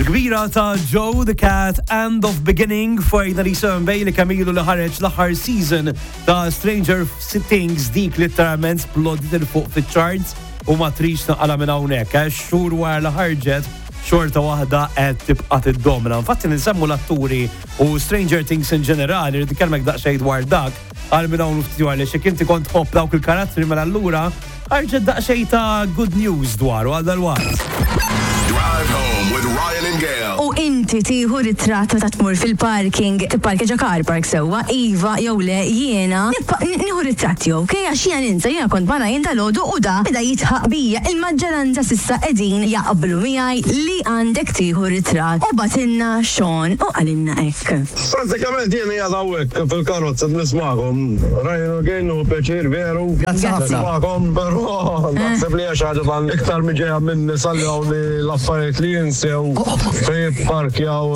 Il-kbira ta' Joe the Cat End of Beginning fuq 97 Bay li kamilu li ħareġ l-aħħar season ta' Stranger Things dik literalment splodit 'il fuq fiċ-charts u ma trix naqala minn hawnhekk, eh, xhur wara li ħarġet xorta waħda qed tibqa' tiddomina. Infatti ninsemmu l-atturi u Stranger Things in ġenerali, rrid ikellmek daqsxejn dwar dak għal minn hawn ftit għaliex jekk inti kont tħobb dawk il-karattri mela allura ħarġet daqsxejn ta' good news dwaru għal dalwaqt. Drive home with Ryan and Gail. U inti tieħu ritratt meta tmur fil-parking, tipparkeġa car park sewwa, iva jew le jiena nieħu ritratti, ok? Għax jiena ninsa, jiena kont ma' Ryan dalgħodu u da beda jidħaq bija. Il-maġġoranza s'issa qegħdin jaqblu miegħi li għandek tieħu ritratt. U bagħtilna Sean u qalilna hekk. Prattikament jien qiegħed hawnhekk fil-karozza qed nismagħkom. Ryan u Gail nieħu pjaċir veru. Grazzi ħafna. Nismagħkom, però naħseb li hija xi ħaġa ta' iktar mi ġejja minn nisa li hawn li l-affarijiet li jinsew fejn jipparkjaw.